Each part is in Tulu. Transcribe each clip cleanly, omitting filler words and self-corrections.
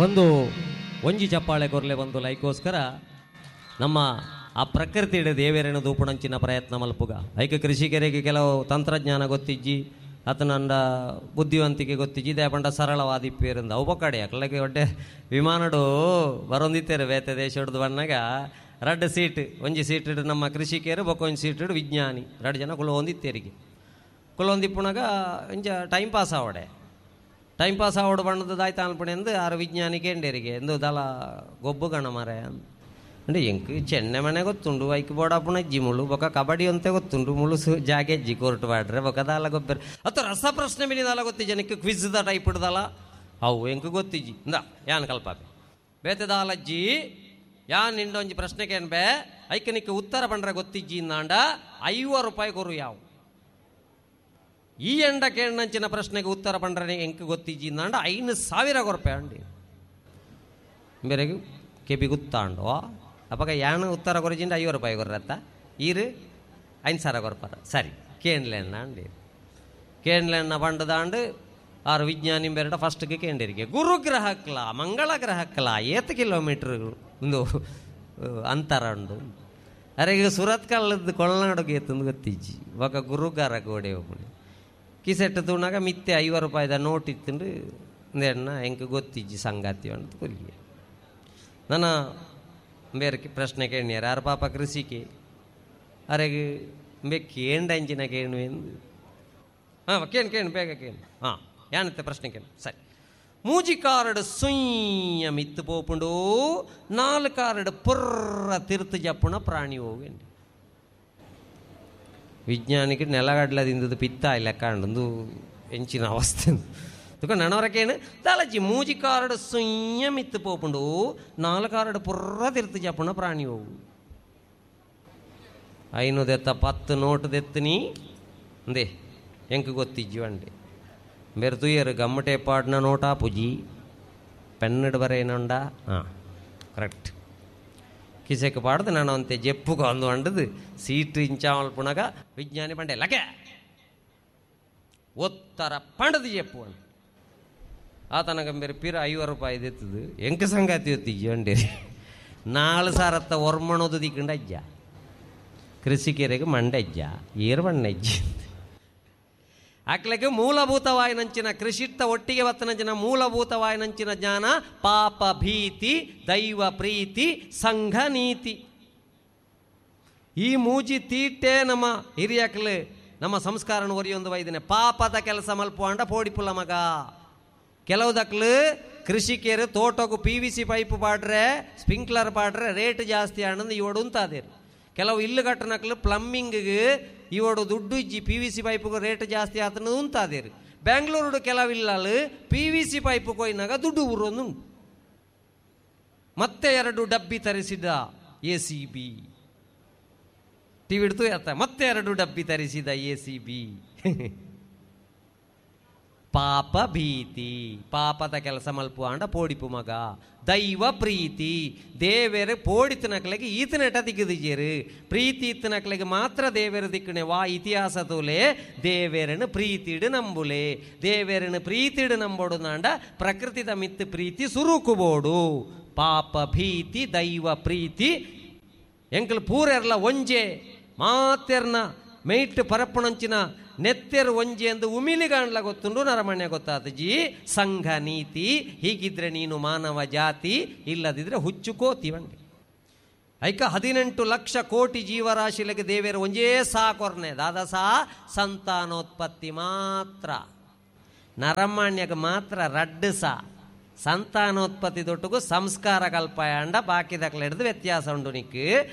ಒಂದು ಒಂಜಿ ಚಪ್ಪಾಳೆ ಕೊರ್ಲೆ ಒಂದು ಲೈಕೋಸ್ಕರ ನಮ್ಮ ಆ ಪ್ರಕೃತಿ ದೇವೇರನ ದೂಪಣಂಚಿನ ಪ್ರಯತ್ನ ಮಲ್ಪುಗ. ಐಕ ಕೃಷಿಕರಿಗೆ ಕೆಲವು ತಂತ್ರಜ್ಞಾನ ಗೊತ್ತಿಜ್ಜಿ, ಆತನಂಡ ಬುದ್ಧಿವಂತಿಕೆ ಗೊತ್ತಿಜ್ಜಿ, ದೇಪಂಡ ಸರಳವಾದಿಪ್ಪೇರಿಂದ ಅವು ಬೊಕ್ಕಡೆ ಅಕ್ಲಗೆ ಒಡ್ಡೆ ವಿಮಾನಡು ಬರೊಂದಿತ್ತೇರು ಬೇತೆ ದೇಶ ಹಿಡ್ದು ಬನ್ನಾಗ ರಡ್ಡು ಸೀಟ್, ಒಂಜಿ ಸೀಟ್ ಇಡು ನಮ್ಮ ಕೃಷಿಕರು, ಬೊಕ್ಕ ಒಂಜಿ ಸೀಟ್ ಇಡು ವಿಜ್ಞಾನಿ, ರಡ್ಡು ಜನ ಕುಲೊಂದಿತ್ತೇರಿಗೆ. ಕುಲೊಂದಿಪ್ಪುನಾಗ ಇಂಚ ಟೈಮ್ ಪಾಸ್ ಆವಡೆ, ಟೈಮ್ ಪಾಸ್ ಆವಡು ಬಣ್ಣದ ದಾಯ್ತ ಅನ್ಪಣೆ ಎಂದು ಆರು ವಿಜ್ಞಾನಿ ಕೇಂಡೇರಿಗೆ ಎಂದು ದಲ ಗೊಬ್ಬು ಗಣ ಮಾರೆ ಅಂದ್ರೆ ಎಂಕ್ ಚೆನ್ನೆ ಮನೆ ಗೊತ್ತುಂಡು, ಐಕ್ ಬೋಡಾಪುಣ ಅಜ್ಜಿ ಮುಳು ಬೊಕ ಕಬಡ್ಡಿ ಅಂತೆ ಗೊತ್ತುಂಡು, ಮುಳು ಜಾಗೆ ಅಜ್ಜಿ ಕೋರ್ಟ್ ಬಾಡ್ರೆ ಬೊಕ ದಾಲ ಗೊಬ್ಬರ ಅತ್ತ ರಸ ಪ್ರಶ್ನೆ ಮೇಲೆ ದಾಲ ಗೊತ್ತಿ ಜನಕ್ಕೆ ಕ್ವಿಜ್ the type ಹಿಡ್ದಲ್ಲ ಅವು ಎಂಕ್ ಗೊತ್ತಿಜ್ಜಿ ಇಂದ ಯಾನ್ ಕಲ್ಪಾಪೆ ಬೇತೆ ದಾಲಜ್ಜಿ ಯಾನ್ ನಿಂಡೊಂಜಿ ಪ್ರಶ್ನೆ ಕೇನ್ಬೆ ಐಕ್ ನಿಕ್ಕೆ ಉತ್ತರ ಪಂಡ್ರೆ ಗೊತ್ತಿಜ್ಜಿ ಇಂದಾಂಡ 50 ರೂಪಾಯಿ ಕೊರು ಯಾವು ಈ ಎಂಡ ಕೇಳಂಚಿನ ಪ್ರಶ್ನೆಗೆ ಉತ್ತರ ಪಂಡ್ರೆ ಎಂಕ್ ಗೊತ್ತಿಜ್ಜಿ ಇಂದಾಂಡ 5,000 ಕೊರಪೆ ಅಂಡಿ ಬೇರೆಗೆ ಕೆಪಿ ಗೊತ್ತಾಂಡು ಅಪ್ಪಗ ಯಾನು ಉತ್ತರ ಕೊರಜಿಂದ 50 ರೂಪಾಯಿ ಕೊರ್ರತ್ತ ಈರು 5,000 ಕೊರ್ಪಾರ ಸರಿ ಕೇನ್ಲೆಣ್ಣ ಅಂಡಿ ಕೇನ್ಲೆಣ್ಣ ಬಂಡದಾಂಡು ಆರು ವಿಜ್ಞಾನಿ ಬೇರೆ ಫಸ್ಟ್ಗೆ ಕೇಂಡಿರಿಗೆ ಗುರುಗ್ರಹಕ್ಲ ಮಂಗಳ ಗ್ರಹಕ್ಲ ಏತ್ ಕಿಲೋಮೀಟ್ರ್ ಒಂದು ಅಂತರ ಉಂಡು. ಅರೆ ಈಗ ಸುರತ್ ಕಲ್ಲದ್ದು ಕೊಳನಾಡುಗೆ ಎತ್ತಂದು ಗೊತ್ತಿಜ್ಜಿ ಒಕ ಗುರುಗಾರ ಗೋಡೆ ಹೋಗಿ ಕಿಸೆಟ್ಟು ತೂಣಾಗ ಮಿತ್ತೆ 50 ರೂಪಾಯಿದ ನೋಟ್ ಇತ್ತಂಡು ಅಂದೇಣ್ಣ ಎಂಕ್ ಗೊತ್ತಿಜ್ಜಿ ಸಂಗಾತಿ ಅಂತ ಕೊಲ್ಲಿಗೆ ನನ್ನ ಬೇರೆ ಪ್ರಶ್ನೆ ಕೇಳಿಯಾರ ಯಾರು ಪಾಪ ಕೃಷಿಕೆ ಅರೆಗೆ ಬೇ ಕೇಂಡ ಅಂಚಿನ ಕೇಣು ಎಂದು ಹಾಂ ಕೇಣು ಕೇಣು ಬೇಗ ಕೇಣು ಹಾಂ ಯಾನತ್ತೆ ಪ್ರಶ್ನೆ ಕೇಳು ಸರಿ. ಮೂಜಿ ಕಾರಡು ಸುಯ್ಯ ಮಿತ್ತು ಪೋಪುಂಡು 4 ಕಾರಡು ಪುರ್ರ ತಿರ್ತು ಜಪ್ಪುಣ ಪ್ರಾಣಿ ಹೋಗಿ ವಿಜ್ಞಾನಿಗೆ ನೆಲಗಡ್ಲದಿಂದದ್ದು ಪಿತ್ತ ಇಲ್ಲ ಕಾಂಡು ಎಂಚಿನ ಅವಸ್ಥೆ ತುಕ ನನವರಕೇನು ದಾಲಜ್ಜಿ ಮೂಜಿ ಕಾರಡು ಸುಯ್ಯ ಮಿತ್ತು ಪೋಪುಂಡು 4 ಕಾರಡು ಪುರ್ರ ತಿರ್ತು ಜಪ್ಪುಣ ಪ್ರಾಣಿ ಹೋಗು 5 ದೆತ್ತ 10 ನೋಟು ದೆತ್ತನಿ ಅಂದೇ ಎಂಕ್ ಗೊತ್ತಿಜ್ಜಿ ಅಂಡೆ ಬೇರೆ ತುಯ್ಯರು ಗಮ್ಮಟೆ ಪಾಡ್ನ ನೋಟಾ ಪುಜಿ ಪೆನ್ನಡು ಬರೇನೊಂಡ ಹಾಂ ಕರೆಕ್ಟ್ ಕಿಸೆಕ್ ಪಾಡ್ದು ನಾನು ಅಂತೆ ಜೆಪ್ಪುಗ ಅಂದು ಅಂಡದು ಸೀಟು ಇಂಚಾವಲ್ಪುಣಗ ವಿಜ್ಞಾನಿ ಪಂಡೆ ಲಕೆ ಒತ್ತರ ಪಂಡದು ಜೆಪ್ಪು ಅಂಡ ಆತನಗ ಬೇರೆ ಪಿರ 50 ರೂಪಾಯಿ ದೆತ್ತದು ಎಂಕ ಸಂಗಾತಿ ಒತ್ತಿಜ್ಜಿ ಅಂಡೆ 4 ಸಾರತ್ತ ಒರ್ಮಣೋದು ದಿಕ್ಕಂಡ ಅಜ್ಜ ಕೃಷಿಕರಿಗೆ ಮಂಡಜ್ಜ ಏರು ಬಣ್ಣಜ್ಜಿ ಅಕ್ಲಕ್ಕೆ ಮೂಲಭೂತವಾಯಿನಂಚಿನ ಕೃಷಿತ್ತ ಒಟ್ಟಿಗೆ ಬತ್ತನಂಚಿನ ಮೂಲಭೂತವಾಯಿನಂಚಿನ ಜ್ಞಾನ ಪಾಪ ಭೀತಿ ದೈವ ಪ್ರೀತಿ ಸಂಘ ನೀತಿ ಈ ಮೂಜಿ ತೀಟೆ ನಮ್ಮ ಹಿರಿಯಕ್ಲು ನಮ್ಮ ಸಂಸ್ಕಾರನ ಒರಿಯೊಂದು ವೈದಿನ ಪಾಪದ ಕೆಲಸ ಮಲ್ಪು ಅಂಡ ಪೋಡಿಪುಲ್ಲ ಮಗ. ಕೆಲವುದಕ್ಲು ಕೃಷಿಕರು ತೋಟಕ್ಕೂ PVC pipe ಪಾಡ್ರೆ ಸ್ಪ್ರಿಂಕ್ಲರ್ ಪಾಡ್ರೆ ರೇಟ್ ಜಾಸ್ತಿ ಆನಂದ್ ಇವಡು ಉಂತಾದೇರು. ಕೆಲವು ಇಲ್ಲು ಕಟ್ಟನಕ್ಲು ಪ್ಲಂಬಿಂಗ್ಗೆ ಇವಡು ದುಡ್ಡು ಇಜ್ಜಿ PVC ಪೈಪ್ಗೆ ರೇಟ್ ಜಾಸ್ತಿ ಆತನ ಉಂತಾದೇರು. ಬೆಂಗಳೂರು ಕೆಲವಿಲ್ಲಲು PVC pipe ಕೊಯ್ನಾಗ ದುಡ್ಡು ಊರೊಂದು ಮತ್ತೆ 2 ಡಬ್ಬಿ ತರಿಸಿದ ACB TV ಹಿಡ್ತು ಆತ ಮತ್ತೆ 2 ಡಬ್ಬಿ ತರಿಸಿದ ACB. ಪಾಪ ಭೀತಿ ಪಾಪದ ಕೆಲಸ ಮಲ್ಪು ಅಂಡ ಪೋಡಿಪು ಮಗ. ದೈವ ಪ್ರೀತಿ ದೇವೇರು ಪೋಡಿತನಕ್ಲೆಗೆ ಈತನೆಟ ದಿಕ್ಕದಿಜೇರು ಪ್ರೀತಿ ಇತ್ತನಕ್ಲೆಗೆ ಮಾತ್ರ ದೇವೇರು ದಿಕ್ಕಣೆ ವಾ ಇತಿಹಾಸ ತೋಲೆ ದೇವೇರನ್ನು ಪ್ರೀತಿಡು ನಂಬುಲೆ ದೇವೇರನ್ನು ಪ್ರೀತಿಡು ನಂಬೋಡು ನಾಂಡ ಪ್ರಕೃತಿದ ಮಿತ್ತು ಪ್ರೀತಿ ಸುರುಕುಬೋಡು. ಪಾಪ ಭೀತಿ ದೈವ ಪ್ರೀತಿ ಎಂಕಲ್ ಪೂರೆರ್ಲ ಒಂಜೆ ಮಾತೆರ್ನ ಮೇಟ್ ಪರಪ್ಪಣಂಚಿನ ನೆತ್ತೆರು ಒಂಜೆ ಎಂದು ಉಮಿಲಿಗಾಣ್ಲ ಗೊತ್ತುಂಡು ನರಮಣ್ಯ ಗೊತ್ತಾದ ಜಿ ಸಂಘ ನೀತಿ ಹೀಗಿದ್ರೆ ನೀನು ಮಾನವ ಜಾತಿ ಇಲ್ಲದಿದ್ರೆ ಹುಚ್ಚು ಕೋತಿ ವಂಡಿ. ಐಕ 18 ಲಕ್ಷ ಕೋಟಿ ಜೀವರಾಶಿಲಗೆ ದೇವೇರು ಒಂಜೇ ಸಾಕೊರ್ನೆ ದಾದ ಸಾ ಸಂತಾನೋತ್ಪತ್ತಿ ಮಾತ್ರ ನರಮಾನ್ಯಕ್ಕೆ ಮಾತ್ರ ರಡ್ಡು ಸಾ ಸಂತಾನೋತ್ಪತ್ತಿ ದೊಟ್ಟುಗು ಸಂಸ್ಕಾರ ಕಲ್ಪಾಯಂಡ ಬಾಕಿದಕ್ಲ ಹಿಡಿದು ವ್ಯತ್ಯಾಸ ಉಂಡು ನಿಕ್ಕು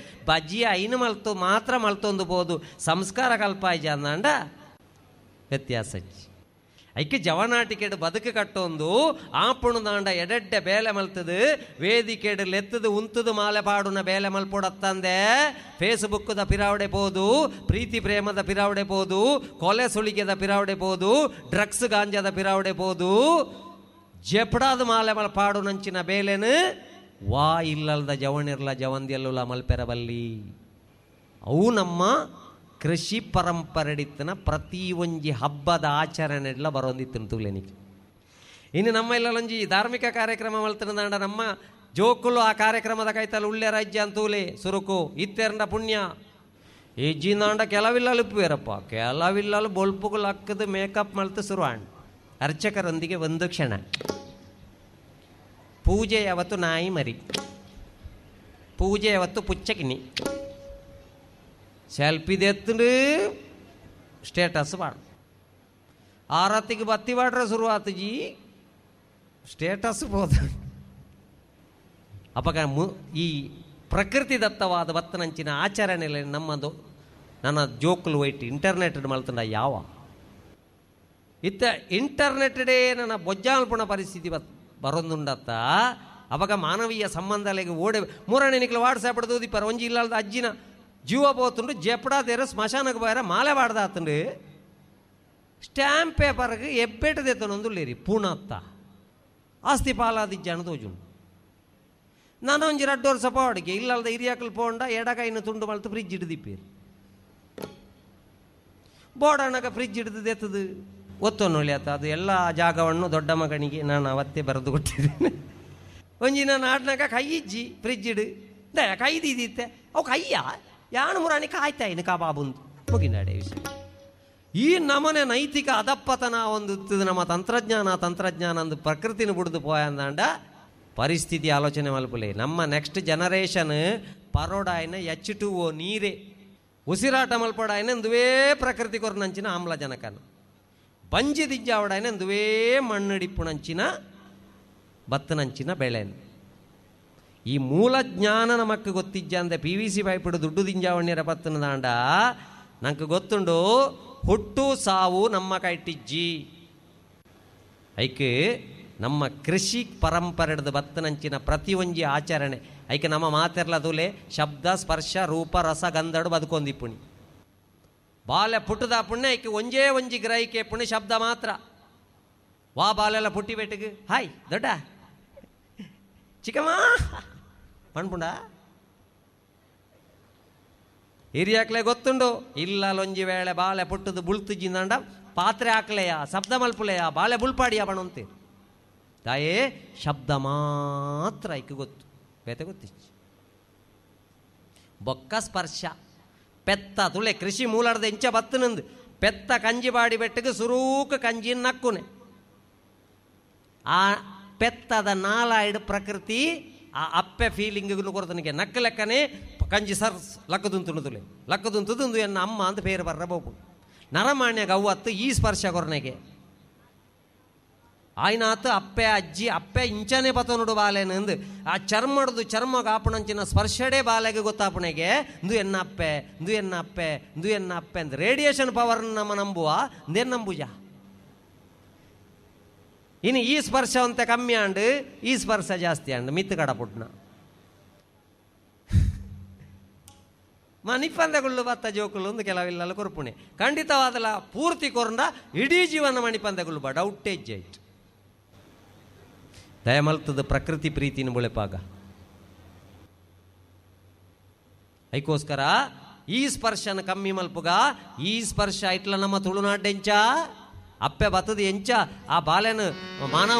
ಬಜ್ಜಿ ಐನು ಮಲ್ತು ಮಾತ್ರ ಮಲ್ತೊಂದು ಬೋದು ಸಂಸ್ಕಾರ ಕಲ್ಪಾಯ ಅಂದ ವ್ಯತ್ಯಾಸ. ಐಕೆ ಜವನಾಟಿಕೆಡು ಬದುಕು ಕಟ್ಟೊಂದು ಆಪುಣು ದಾಂಡ ಎಡೆಡ್ಡೆ ಬೇಲೆ ಮಲ್ತದು ವೇದಿಕೆಡು ಲೆತ್ತದು ಉಂತದು ಮಾಲೆ ಪಾಡುನ ಬೇಲೆ ಮಲ್ಪೊಡತ್ತಂದೆ ಫೇಸ್ಬುಕ್ದ ಪಿರಾವಡೆ ಪೋದು ಪ್ರೀತಿ ಪ್ರೇಮದ ಪಿರಾವಡೆ ಪೋದು ಕೊಲೆ ಸುಳಿಗೆದ ಪಿರಾವಡೆ ಪೋದು ಡ್ರಗ್ಸ್ ಗಾಂಜಾದ ಪಿರಾವಡೆ ಪೋದು ಜೆಪಡಾದ ಮಾಲೆ ಮಲ್ ಪಾಡು ನಂಚಿನ ಬೇಲೆನು ವಾ ಇಲ್ಲಲ್ದ ಜವನಿರ್ಲ ಜವಂದಿಯಲ್ಲುಲ ಮಲ್ಪೆರಬಲ್ಲಿ. ಅವು ನಮ್ಮ ಕೃಷಿ ಪರಂಪರೆಡಿತ್ತನ ಪ್ರತಿ ಒಂಜಿ ಹಬ್ಬದ ಆಚರಣೆಡ್ಲ ಬರೋಂದಿತ್ತು ತುಲೆನಿಗೆ. ಇನ್ನು ನಮ್ಮ ಇಲ್ಲೊಂಜಿ ಧಾರ್ಮಿಕ ಕಾರ್ಯಕ್ರಮ ಮಲ್ತನದಾಂಡ ನಮ್ಮ ಜೋಕುಲು ಆ ಕಾರ್ಯಕ್ರಮದ ಕೈತಲ್ ಉಳ್ಳೆ ರಾಜ್ಯ ಅಂತೂಲೆ ಸುರುಕು ಇತ್ತೆರಂಡ ಪುಣ್ಯ ಇಜ್ಜಿಂದಾಂಡ ಕೆಲವಿಲ್ಲಲು ಉಪ್ಪುವೇರಪ್ಪ ಕೆಲವಿಲ್ಲಲು ಬೊಲ್ಪುಗಳು ಹಾಕದು ಮೇಕಪ್ ಮಲ್ತು ಶುರುವಾಂಡ್. ಅರ್ಚಕರೊಂದಿಗೆ ಒಂದು ಕ್ಷಣ ಪೂಜೆ ಯಾವತ್ತು ನಾಯಿ ಮರಿ, ಪೂಜೆ ಯಾವತ್ತು ಪುಚ್ಚಕಿನಿ, ಸೆಲ್ಫಿದೆತ್ತು ಸ್ಟೇಟಸ್ ಮಾಡು, ಆರತಿಗೆ ಬತ್ತಿ ಮಾಡ್ರೆ ಶುರುವಾತು ಜಿ ಸ್ಟೇಟಸ್ ಹೋದ. ಅಪಗ ಈ ಪ್ರಕೃತಿ ದತ್ತವಾದ ಬತ್ತನಂಚಿನ ಆಚರಣೆ ನಮ್ಮದು ನನ್ನ ಜೋಕುಲು ವೈಟ್ ಇಂಟರ್ನೆಟ್ ಮಲ್ತಂಡ ಯಾವ ಇತ್ತ ಇಂಟರ್ನೆಟ್ಡೇ ನನ್ನ ಬೊಜ್ಜಾಲ್ಪುಣ ಪರಿಸ್ಥಿತಿ ಬರೊಂದುಂಡತ್ತ. ಅವಾಗ ಮಾನವೀಯ ಸಂಬಂಧಗಳಿಗೆ ಓಡೆ ಮೂರನೇ ನಿಕ್ಲು ವಾಟ್ಸಾಪ್ ದೂದಿಪ್ಪರ ಒಂಜಿ ಇಲ್ಲದ ಅಜ್ಜಿನ ಜೀವ ಪೋತುಂಡು ಜೆಪ್ಪಡಾದೇರ ಸ್ಮಶಾನಕ್ಕೆ ಬಾರ ಮಾಲೆ ಬಾಡ್ದಾತುಂಡು ಸ್ಟ್ಯಾಂಪ್ ಪೇಪರ್ಗೆ ಎಬ್ಬೆಟ್ಟದೆತ್ತನೊಂದುಳ್ಳೇರಿ ಪೂಣತ್ತ ಆಸ್ತಿ ಪಾಲಾದಿಜ್ಜಾನ ತೋಜುಂಡು. ನಾನು ಒಂಜಿ ರಡ್ಡು ವರ್ಷ ಪೋಡಿಗೆ ಇಲ್ಲಲ್ದ ಹಿರಿಯಾಕಲು ಪೋಂಡ ಎಡಕೈನ ತುಂಡು ಮಲ್ತು ಫ್ರಿಜ್ ಹಿಡ್ದಿಪ್ಪೇರು ಬೋಡಣ್ಣಗ ಫ್ರಿಜ್ ಹಿಡಿದು ಒತ್ತೊನ್ನೊಳ್ಳಿ ಆತ ಅದು ಎಲ್ಲ ಜಾಗವನ್ನು ದೊಡ್ಡ ಮಗನಿಗೆ ನಾನು ಅವತ್ತೇ ಬರೆದು ಕೊಟ್ಟಿದ್ದೇನೆ. ಒಂಜಿ ನಾನು ಆಡ್ನಾಗ ಕೈ ಇಜ್ಜಿ ಫ್ರಿಜ್ ಇಡು ದಯ ಕೈದಿದ್ದಿತ್ತೆ ಅವು ಕೈಯ ಯಾನು ಮುರಾಣಿ ಕಾಯ್ತಾಯಿನ ಕಬಾಬುಂದು ಮುಗಿನಾಡೆ ವಿಷಯ. ಈ ನಮನೆ ನೈತಿಕ ಅದಪ್ಪತನ ಒಂದು ನಮ್ಮ ತಂತ್ರಜ್ಞಾನ ತಂತ್ರಜ್ಞಾನ ಅಂದು ಪ್ರಕೃತಿನ ಬಿಡ್ದು ಪೋಯಂದಾಂಡ ಪರಿಸ್ಥಿತಿ ಆಲೋಚನೆ ಮಲ್ಪುಲೆ. ನಮ್ಮ ನೆಕ್ಸ್ಟ್ ಜನರೇಷನ್ ಪರೋಡಾಯನ H2O ನೀರೇ ಉಸಿರಾಟ ಮಲ್ಪಡಾಯನ ಅಂದುವೇ ಪ್ರಕೃತಿ ಕೊರನಂಚಿನ ಆಮ್ಲಜನಕನ ಬಂಜಿ ದಿಜ್ಜಾವಡಾಯನ ಅಂದುವೇ ಮಣ್ಣಡಿಪ್ಪುನಂಚಿನ ಬತ್ತನಂಚಿನ ಬೆಳೆನು. ಈ ಮೂಲ ಜ್ಞಾನ ನಮಕ್ ಗೊತ್ತಿಜ್ಜ ಅಂದೆ PVC ಪೈಪಿಡು ದುಡ್ಡು ದಿಂಜಾವಣ್ಯರ ಬತ್ತನ ದಾಂಡ ನಂಗೆ ಗೊತ್ತುಂಡು ಹುಟ್ಟು ಸಾವು ನಮ್ಮ ಕೈಟಿಜ್ಜಿ. ಐಕೆ ನಮ್ಮ ಕೃಷಿ ಪರಂಪರೆದ ಬತ್ತನಂಚಿನ ಪ್ರತಿಯೊಂಜಿ ಆಚರಣೆ ಐಕೆ ನಮ್ಮ ಮಾತೆರ್ಲ ತುಲೆ ಶಬ್ದ ಸ್ಪರ್ಶ ರೂಪ ರಸ ಗಂಧಡು ಬದುಕೊಂದಿಪ್ಪುಣಿ ಬಾಲೆ ಪುಟ್ಟದ ಪುಣ್ಯ ಐಕೆ ಒಂಜೇ ಒಂಜಿ ಗ್ರಹಿಕೆ ಪುಣ್ಯ ಶಬ್ದ ಮಾತ್ರ. ವಾ ಬಾಲೆಲ್ಲ ಪುಟ್ಟಿ ಬೆಟ್ಟಿಗೆ ಹಾಯ್ ದೊಡ್ಡ ಚಿಕ್ಕಮ್ಮ ಪಣ್ಪುಂಡ ಹಿರಿಯಾಕ್ಲೆ ಗೊತ್ತುಂಡು ಇಲ್ಲ ಲೊಂಜಿ ವೇಳೆ ಬಾಳೆ ಪುಟ್ಟದು ಬುಳ್ತುಜಿಂದಂಡ ಪಾತ್ರೆ ಹಾಕ್ಲೆಯ ಶಬ್ದ ಮಲ್ಪುಲೆಯ ಬಾಳೆ ಬುಳ್ಪಾಡಿಯ ಬಣಂತೆ ತಾಯೇ ಶಬ್ದ ಮಾತ್ರ ಐಕೆ ಗೊತ್ತು ಬೇತೆ ಗೊತ್ತಿಚ್ಚು. ಬೊಕ್ಕ ಸ್ಪರ್ಶ ಪೆತ್ತ ತುಳೆ ಕೃಷಿ ಮೂಲಾರ್ದ ಇಂಚ ಬತ್ತನಂದು ಪೆತ್ತ ಕಂಜಿ ಬಾಡಿ ಬೆಟ್ಟಗೆ ಸುರೂಕ ಕಂಜಿ ನಕ್ಕುನೆ ಆ ಪೆತ್ತದ ನಾಲಾಯ್ಡು ಪ್ರಕೃತಿ ಆ ಅಪ್ಪೆ ಫೀಲಿಂಗ್ ಕೊರತನಿಗೆ ನಕ್ಕ ಲೆಕ್ಕನೆ ಕಂಜಿ ಸರ್ ಲಕ್ಕದುಂತು ತುಲೆ ಲಕ್ಕದುಂತುದು ಎನ್ನ ಅಮ್ಮ ಅಂತ ಪೇರು ಬರ್ರ ಬೋಪು ನರಮಾನ್ಯ ಗವ್ವತ್ತು ಈ ಸ್ಪರ್ಶ ಕೊರನೆಗೆ ಆಯ್ನಾತು ಅಪ್ಪೆ ಅಜ್ಜಿ ಅಪ್ಪೆ ಇಂಚನೆ ಪತನುಡು ಬಾಲೆನಂದು ಆ ಚರ್ಮಡ್ದು ಚರ್ಮ ಕಾಪುಣಂಚಿನ ಸ್ಪರ್ಶಡೇ ಬಾಲೆಗೆ ಗೊತ್ತಾಪಣೆಗೆ ಇಂದು ಎನ್ನ ಅಪ್ಪೆ ಇಂದು ಎನ್ನ ಅಪ್ಪೆ ಇಂದು ಎನ್ನ ಅಪ್ಪೆ ಅಂದ್ ರೇಡಿಯೇಷನ್ ಪವರ್ ನಮ್ಮ ನಂಬುವ ಇಂದೇನು ನಂಬುಜ. ಇನ್ನು ಈ ಸ್ಪರ್ಶ ಅಂತ ಕಮ್ಮಿ ಆಂಡು ಈ ಸ್ಪರ್ಶ ಜಾಸ್ತಿ ಆಂಡು ಮಿತ್ತು ಕಡಪುಟ್ನ ಮಣಿಪಂದಗುಳ್ಳು ಬತ್ತ ಜೋಕುಲು ಒಂದು ಕೆಲವಿಲ್ಲ ಕೊರ್ಪುಣೆ ಖಂಡಿತವಾದಲ ಪೂರ್ತಿ ಕೊರಂಡ ಇಡೀ ಜೀವನ ಮಣಿಪಂದಗುಳ್ಳು ಬಾ ಡೌಟೇಜ್ ಆಯ್ತು. ದಯಮಲ್ತದ ಪ್ರಕೃತಿ ಪ್ರೀತಿನ ಬುಳೆಪಾಗ ಐಕೋಸ್ಕರ ಈ ಸ್ಪರ್ಶನ ಕಮ್ಮಿ ಮಲ್ಪುಗ ಈ ಸ್ಪರ್ಶ ಇಟ್ಲ ನಮ್ಮ ತುಳುನಾಡೆಂಚ ಅಪ್ಪೆ ಬತ್ತದ ಎಂಚ ಆ ಬಾಲೆನ ಮಾನವ